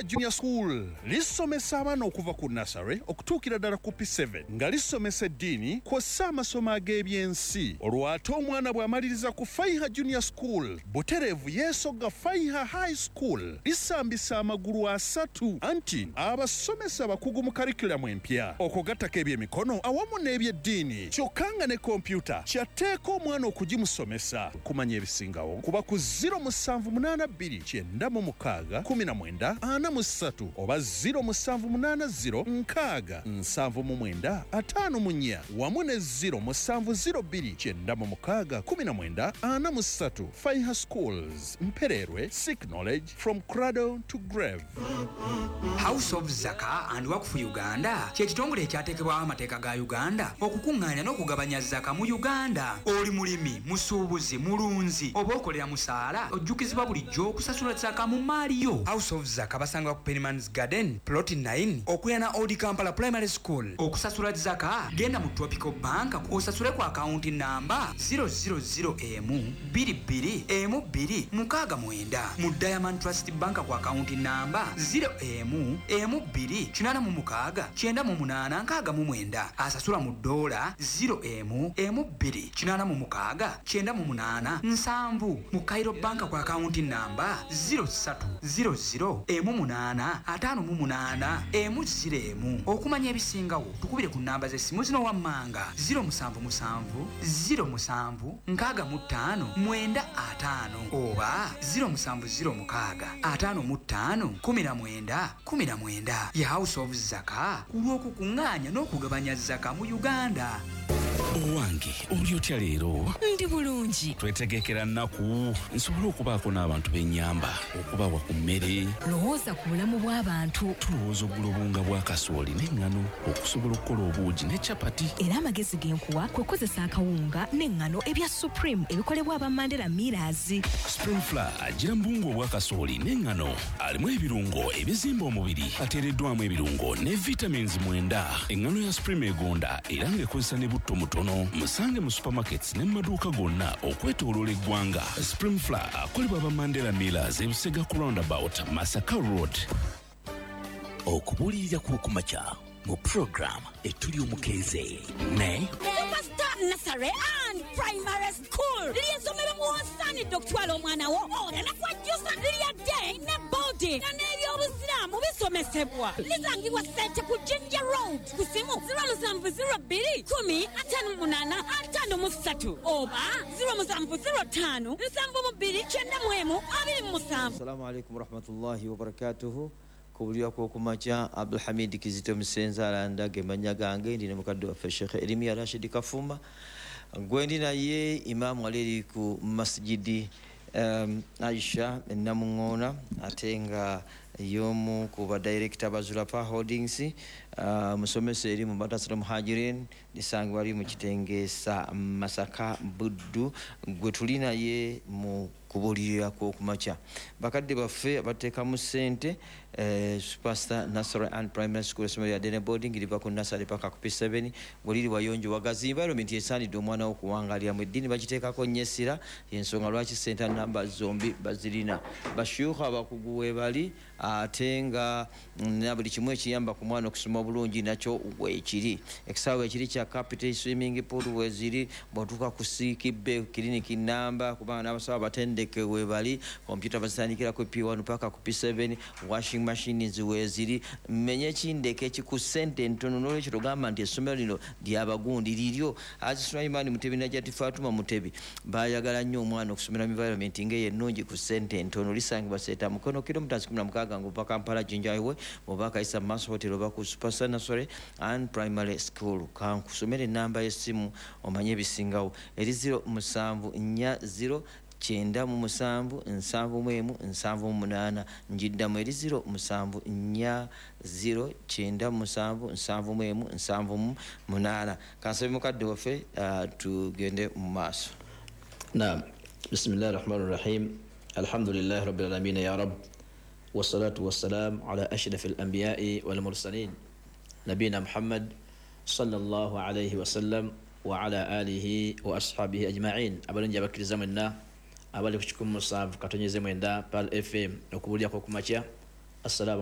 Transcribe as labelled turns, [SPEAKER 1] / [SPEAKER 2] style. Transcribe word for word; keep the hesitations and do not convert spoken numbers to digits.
[SPEAKER 1] Faiha Junior School lisomesa abaana okuva ku nursery okutuukira ddala ku P seven, nga lisomesa eddiini kw'ossa amasomo ag'ebyensi. Olwo ate omwana bw'amaliriza ku Faiha Junior School, butereevu yeesogga Faiha High School. Lisambisa amagulu asatu, anti abasomesa bakugu mu curriculum empya, okwo gattako ebyemikono awamu n'ebyeddiini, kyokka nga ne kompyuta kyatteeka omwana okugimusomesa. Kumanya ebisingawo kuba ku zero musanvu munaana bbiri kyenda mu mukaaga kumi na mwenda ana mu ssatu oba zero musanvu munaana zero nkaaga nsanvu mu mwenda ataano mu nnya wamu ne zero musanvu zero bbiri kyenda mu mukaaga kumi na mwenda ana mu ssatu. Faiha Schools, Mpererwe, seek knowledge from cradle to grave.
[SPEAKER 2] House of Zaka and Wakfu Uganda kye kitongole ekyateekebwawo amateeka ga Uganda okukuŋŋaanya n'okugabanya zaka mu Uganda. Oli mulimi, musuubuzi, mulunzi oba okolera musaala, ojjukizibwa bulijjo okusasula zaka mu maali yo. House of Zaka basangibwa ku Penimans Garden, Plot nine, okuliraana Old Kampala Primary School. Okusasula zaka, genda mu Tropical Bank osasule ku akawunti namba zero zero zero emu bbiri bbiri emu bbiri mukaaga mwenda, mu Diamond Trust Bank ku akawunti namba zero emu emu bbiri kinaana mu mukaaga kyenda mu munaana nkaaga mu mwenda. Asasula mu ddoola, zero emu emu bbiri kinaana mu mukaaga kyenda mu munaana nsanvu, mu Cairo Bank ku akawunti namba zero ssatu zero zero emu munaana ataano mu munaana emu zero emu. Okumanya ebisingawo, tukubire ku namba z'essimu zino wammanga: zero musanvu musanvu zero musanvu nkaaga mu ttaano mwenda ataano oba zero musanvu zero mukaaga ataano mu ttaano kumi na mwenda kumi na mwenda. Ye House of Zaka ku lw'okukuŋŋaanya n'okugabanya zaka mu Uganda.
[SPEAKER 3] Owange, oli otya leero?
[SPEAKER 4] Ndi bulungi.
[SPEAKER 3] Twetegekera nnaku nsobole okubaako n'abantu b'ennyamba okubawa ku mmere.
[SPEAKER 4] Lowooza ku bulamu bw'abantu.
[SPEAKER 3] Tulowooza okugula obuwunga bwa kasooli n'eŋŋano okusobola okukola obuugi ne capati.
[SPEAKER 4] Era amagezi ge nkuwa kwe kukozesa akawunga n'eŋŋano ebya Supreme ebikolebwa aba Mandela Millers.
[SPEAKER 3] Supreme Flour agira mu buwunga obwa kasooli n'eŋŋano, alimu ebirungo ebizimba omubiri, ateereddwamu ebirungo ne vitamins mwenda. Eŋŋano ya Supreme egonda era ng'ekozesa ne butto mutono. Musange mu supermarkets ne mu maduuka gonna okwetooloola eggwanga. Supreme Flour akolebwa aba Mandela Millers, Ebusega ku roundabout, Masaka Road.
[SPEAKER 5] Okubuulirira kw'okumakya mu puroguramu Etuli Omukeeze ne
[SPEAKER 6] Superstar Nursery and Primary School ly'essomero mw'osaanidde okutwala omwana wo oleme kwejjusa. Lya day ne boarding, nga n'ebyobusiraamu bisomesebwa. Lisangibwa Sente ku Jinja Road, ku simu zero musanvu zero bbiri kumi ataano mu munaana ataano mu ssatu oba zero musanvu zero ttaano nsanvu mu bbiri kyenda mu emu abiri mu musanvu.
[SPEAKER 7] Assalamu alaikum warahmatullahi wabarakatuhu. Kubulira kwokumakya, Abdulhamid Kizito Musenza alanda ge mannya gange. Ndi ne mukadde waffe Shekhe Erimiya Rashidi Kafuma, gwendi naye imaamu ali eri ku Masjidi um, Aisha Enamuŋoona, ate nga y'omu ku badirekita ba Zulapa Holdings, uh, musomesa eri mu Madrasa Muhajirin, lisangibwa ali mu Kitengeesa, Masaka, Buddu, gwe tuli naye mu kubuulirira kw'okumakya. Bakadde baffe abateekamu ssente, eh, Superstar Nursery and Primary School, essomero lya day ne boarding, liva ku nursery paka ku P seven. Bwe liri wayonjo, wagazi, environment esaanidde omwana wo okuwangaliramu. Eddiini bagiteekako nnyo essira, yensonga lwaki senta namba zombi bazirina. Bashuuka abakugu weebali, ate nga na buli kimu ekiyamba ku mwana okusoma obulungi nakyo weekiri. Ekisaawe ekiri kya capital, swimming pool weziri. Bw'otuuka ku sick bay, kiriniki namba, kubanga n'abasawo abatendeke webali. Kompyuta bazitandikira ku P one paka ku P seven. Washing machines weziri. Menye ekindeka ekiku ssente entono. N'olwekyo togamba nti essomero lino lyabagundi, liryo. Haji Sulaiman Mutebi, Najati Fatuma Mutebi bayagala nnyo omwana okusomera mu environment ng'eyo ennungi ku ssente entono. Lisangibwa Seeta Mukono, kilomita kumi na mukaaga ng'ova Kampala Jinja Highway, bw'oba akayisa mu maaso hotel oba ku Superstar Nursery and Primary School. Kankusomera enamba y'essimu omanye ebisingawo, eri zero musanvu nnya zero kyenda mu musanvu nsanvu mu emu nsanvu mu munaana. Njiddamu, eri zero musanvu nnya zero kyenda mu musanvu nsanvu mu emu nsanvu mu munaana. Kansabe mukadde waffe, uh, tugende mu maaso.
[SPEAKER 8] نعم، بسم الله الرحمن الرحيم، الحمد لله رب العالمين يا رب، والصلاة والسلام على أشرف الأنبياء والمرسلين، نبينا محمد صلى الله عليه وسلم وعلى آله وأصحابه أجمعين. Abalungi abakkiriza mwenna abali ku kikumi musanvu katonyeze mwenda Pearl F M, okubuulira kw'okumakya, assalamu